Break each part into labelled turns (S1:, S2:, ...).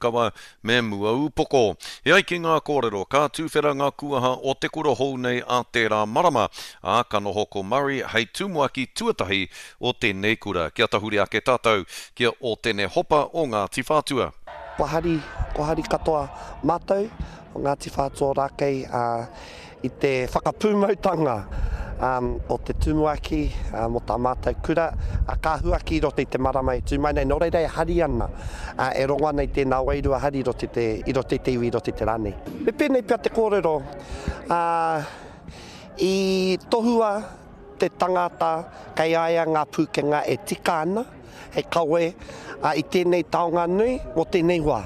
S1: Kawa me Muaūpoko. E ai ki ngā kōrero, ka tuwhera ngā kuaha o te kura hou nei ā tērā marama, ā, ka noho ko Murray hei tumuaki tuatahi o tēnei kura. Kia tahuri ake tātou ki a Ōtene Hopa o Ngāti Whātua.
S2: Kua hari, kua hari katoa mātou o Ngāti Whātua Ōrākei, ā, i te whakapūmautanga o te tumuaki mō tā mātou kura, ka huaki i roto i te marama e tū mai nei. Nō reira e hari ana, e rongo ana i tēnā wairua hari i roto i te, i roto i te iwi, i roto i te rā nei. Me pēnei pea te kōrero, i tohua te tangata kei a ia ngā pūkenga e tika ana, hei kawe i tēnei taonga nui mō tēnei wā.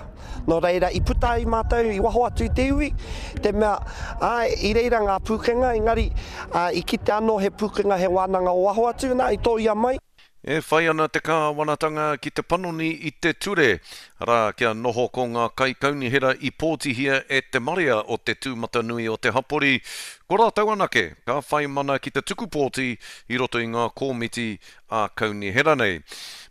S2: Nō reira, i puta ai mātou i waho atu i te iwi, te mea, āe, i reira ngā pūkenga, engari, i kite anō he pūkenga, he wānanga o waho atu, nā, i tōia mai.
S1: E whai ana te kāwanatanga ki te panoni i te ture, arā, kia noho ko ngā kaikaunihera i pōtihia e te marea o te tūmatanui o te hapori, ko rātou anake ka whai mana ki te tuku pōti i roto i ngā kōmiti ā-kaunihera nei.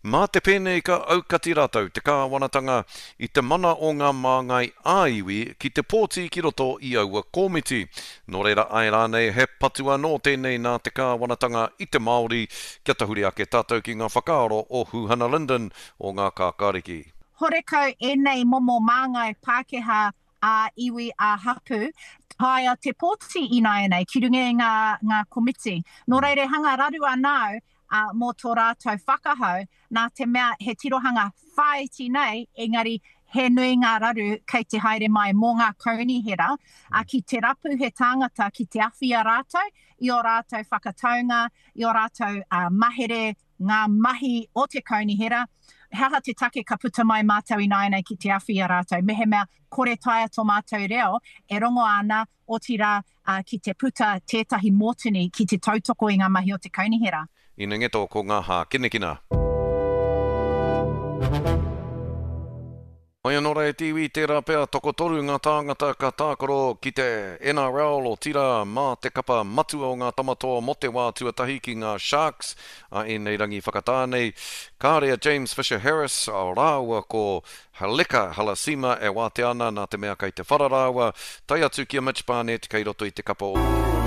S1: Mā te pēnei ka aukati rātou, te kāwanatanga, i te mana o ngā māngai ā-iwi ki te pōti ki roto i aua kōmiti. Nō reira āe rānei he patu anō tēnei nā te kāwanatanga i te Māori kia tahuri ake tātou ki ngā whakaaro o Huhana Lyndon o Ngā Kākāriki.
S3: Horekau ēnei momo māngai Pākehā ā-iwi, ā-hapū, taea te pōti ināianei ki runga i ngā, ngā komiti. Nō reira e hanga raru ana au ā, mō tō rātou whakahau, nā te mea he tirohanga whāiti nei, engari he nui ngā raru kei te haere mai mō ngā kaunihera, ā, ki te rapu he tāngata ki te awhi i a rātou, i ō rātou whakataunga, i ō rātou ā, mahere, ngā mahi o te kaunihera, he aha te take ka puta mai mātou ināianei ki te awhi i a rātou, mehemea kore taea tō mātou reo e rongo ana, otirā, ki te puta tētahi mōtini ki te tautoko i ngā mahi o te kaunihera.
S1: Inengeto ko ngā hākinakina. Mai anō rā e te iwi, tērā pea tokotoru ngā tāngata ka tākaro ki te NRL, otirā mā te kapa matua o ngā Tamatoa mō te wā tuatahi ki ngā Sharks a ēnei rangi whakatā nei. Kāre a James Fisher-Harris rāua ko Leka Halasima e wātea ana nā te mea kei te whara rāua, tae atu ki a Mitch Barnett kei roto i te kapa o.